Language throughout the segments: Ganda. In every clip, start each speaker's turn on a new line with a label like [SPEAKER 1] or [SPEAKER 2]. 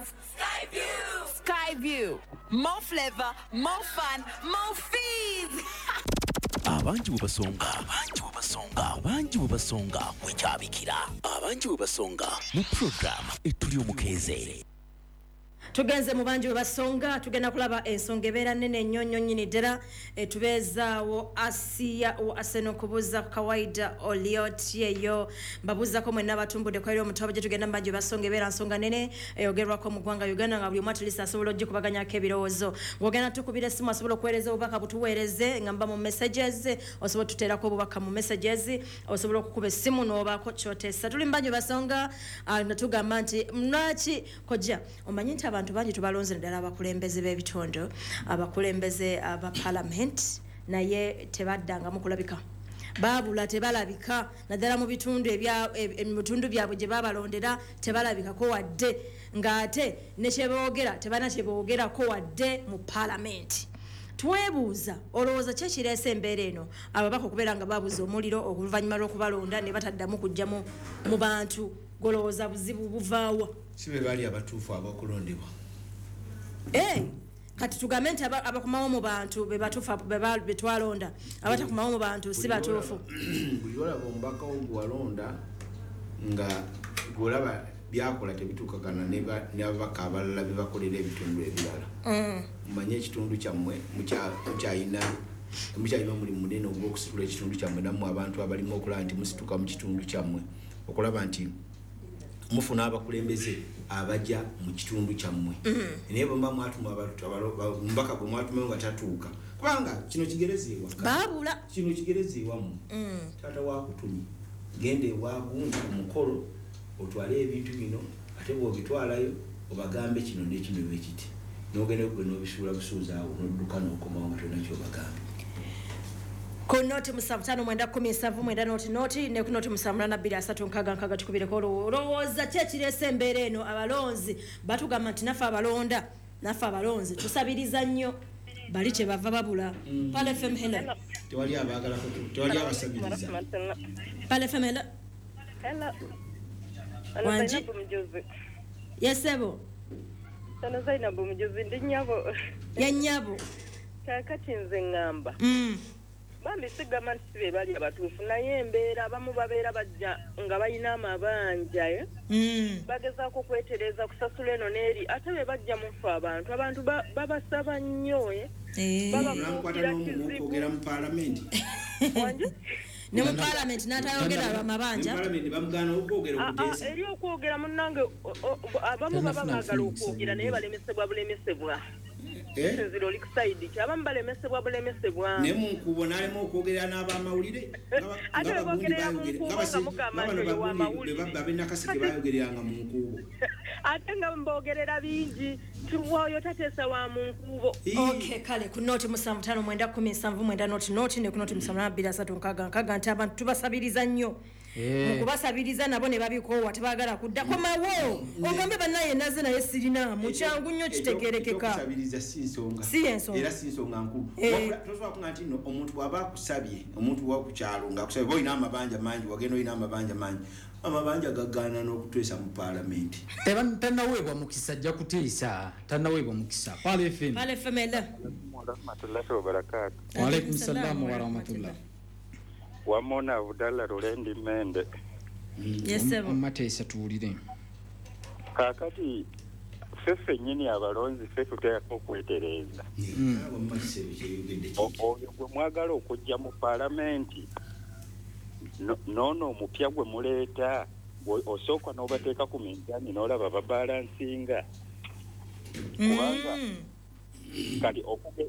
[SPEAKER 1] Skyview! Skyview. More flavor, more fun, more fees.
[SPEAKER 2] Abangi bwe basonga, abangi bwe basonga, abangi bwe basonga wekyabikira, abangi bwe basonga mu puroguramu etuli omukeeze.
[SPEAKER 3] Tugenze mu bangi bwe basonga. Tugenda kulaba ensonga ebeera nnene nnyo nnyo nnyini ddala etubeezaawo. Asiya wa Arsenal kubuuza kawaida oliot eyo mbabuuzako mwenna abatumbudde kweri omutobo gye tugenda mu bangi bwe basonga. Ebeera nsonga nnene eyogerwako mu ggwanga Uganda nga buli omu atlist asobola ogikubaganyako ebirowoozo. Ng'ogenda tukubira essimu, asobola okuweereza obubaka, butuweereze nga mba mu messages, osobola otuteerako obubaka mu messages, osobola okukuba essimu n'obaako kyoteesa. Tuli mu bangi bwe basonga. Tugamba nti lwaki kojja omanyi nti abantu bangi tubalonze, naddala abakulembeze b'ebitundu, abakulembeze aba parliament, naye tebaddangamu kulabika, baabula, tebalabika, naddala mu bitundu mu bitundu byabwe gye babalondera tebalabikako wadde, ng'ate ne kyeboogera tebalina kyeboogerako wadde mu paalamenti. Twebuuza, olowooza ki ekireesa embeera eno, ababaka okubeera nga babuza omuliro oluvannyuma lw'okubalonda ne bataddamu kujja mu bantu? Golowooza buzibu buvaawa?
[SPEAKER 4] Si be baali abatuufu ab'okulondebwa.
[SPEAKER 3] Kati tugambe nti abakomawo mu bantu be batuufu, be twalonda, abatakomawo mu bantu si batuufu?
[SPEAKER 4] Buli olaba omubaka wo gwewalonda nga gwolaba byakola tebituukagana n'ababaka abalala bebakolera ebitundu ebirala, mumanye ekitundu kyammwe mukyalina omulimu munene ogw'okusitula ekitundu kyammwe. Nammwe abantu abalimu okulaba nti musituka mu kitundu kyammwe, okulaba nti mufuna abakulembeze abajja mu kitundu kyammwe. Naye bwe muba mwatuma omubaka gwe mwatumayo nga tatuuka, kubanga kino kigereza ewaka.
[SPEAKER 3] Baabula.
[SPEAKER 4] Kino kigereza ewammwe. Taata wakutumye, genda ewagundi ku mukolo otwale ebintu bino, ate bw'obitwalayo obagambe kino nekino bwekiti, nogenda gwe n'obisuula busuuzi awo n'odduka n'okomawo nga tolina kyobagambe.
[SPEAKER 3] Ku 075910790 ne ku 0782366, tukubireko. Olowooza ki ekireesa embeera eno? Abalonzi batugamba nti naffe abalonda, naffe abalonzi tusabiriza nnyo, bali kyebava babula. Pal FM, hello.
[SPEAKER 4] Tewali abaagala, tewali abasabiriza.
[SPEAKER 3] Pal FM, hello.
[SPEAKER 5] Hello.
[SPEAKER 3] Wangi?
[SPEAKER 5] Zainabu Mujuzi.
[SPEAKER 3] Yesebo.
[SPEAKER 5] Ono Zainabu Mujuzi, ndi nnyabo.
[SPEAKER 3] Ye nnyabo.
[SPEAKER 5] Kaakati nze ŋŋamba. Bambi sigamba nti si be bali abatuufu, naye embeera abamu babeera bajja nga balina amabanja, eh? Bagezaako okwetereeza kusasula eno n'eri, ate be bajja mufe abantu babasaba nnyo, eh?
[SPEAKER 4] Nankwata
[SPEAKER 5] Babafuukira
[SPEAKER 4] n'omumu
[SPEAKER 5] kizibu.
[SPEAKER 4] okwogera mu paalamenti.
[SPEAKER 5] Wangi?
[SPEAKER 3] Ne mu paalamenti n'atayogera lwamabanja.
[SPEAKER 4] Mu paalamenti bamugaana okwogera, okuteesa.
[SPEAKER 5] Eri okwogera munnange, abamu baba
[SPEAKER 6] Tannafuna
[SPEAKER 5] baagala
[SPEAKER 6] mukisa
[SPEAKER 5] okwogera naye
[SPEAKER 6] gwogera.
[SPEAKER 5] balemesebwa bulemesebwa.
[SPEAKER 4] Eh?
[SPEAKER 5] Sinzira oli ku side ki, abamu balemesebwa bulemesebwa.
[SPEAKER 4] Naye mu nkuubo n'alema okwogerera n'abamawulire.
[SPEAKER 5] Ate bwe boogerera mu nkuubo nga mugamba nti oyo w'amawulire.
[SPEAKER 4] Abenakaseke bayogereranga mu nkuubo.
[SPEAKER 5] Ate nga mbogerera bingi nti oyo tateesa wa mu nkuubo.
[SPEAKER 3] Okay, kale ku 075910790 ne ku 0782366 nti abantu tubasabiriza nnyo. Mu kubasabiriza nabo ne babikoowa, tebaagala kudda. Komawo ogambe bannaye naze naye sirinaamu, kyangu nnyo, kitegerekeka.
[SPEAKER 4] Ekyokusabiriza si nsonga.
[SPEAKER 3] Si ensonga.
[SPEAKER 4] Era si nsonga nkulu.
[SPEAKER 3] Eh.
[SPEAKER 4] Wabula tosobola kuga nti nno omuntu bw'aba akusabye, omuntu wakukyalo ng'akusabye, oba olina amabanja mangi, wagenda olina amabanja mangi, amabanja gagaana n'okuteesa mu paalamenti.
[SPEAKER 6] Tannaweebwa mukisa, ajja kuteesa, tannaweebwa mukisa. Pal FM.
[SPEAKER 3] Pal FM, hello.
[SPEAKER 7] Warahmatullahi wabarakatu.
[SPEAKER 6] Waalaikum salaamu warahmatullah.
[SPEAKER 7] Wamona Abudallah Lulendi Mende.
[SPEAKER 3] Yesebo.
[SPEAKER 6] Omumateesa, tuwulire.
[SPEAKER 7] Kaakati ffe ffennyini abalonzi ffe tuteekako okwetereeza.
[SPEAKER 4] Wamma kisebe kyeyogedde.
[SPEAKER 7] Oyo gwe mwagala okujja mu paalamenti noono omupya gwe muleeta, osooka n'obateeka ku minzaani n'olaba babalansinga, kubanga kati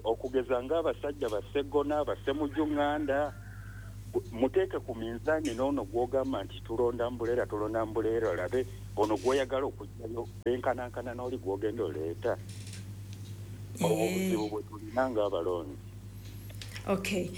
[SPEAKER 7] okugeza ng'abasajja bassegona, bassemujuŋŋanda, muteeke ku minzaani noono gw'ogamba nti tulonda mbuleera, tulonda mbuleera, olabe ono gw'oyagala okugjayo benkanankana n'oli gw'ogenda oleeta. Obwo buzibu bwe tulina ng'abalonzi.
[SPEAKER 3] Okay.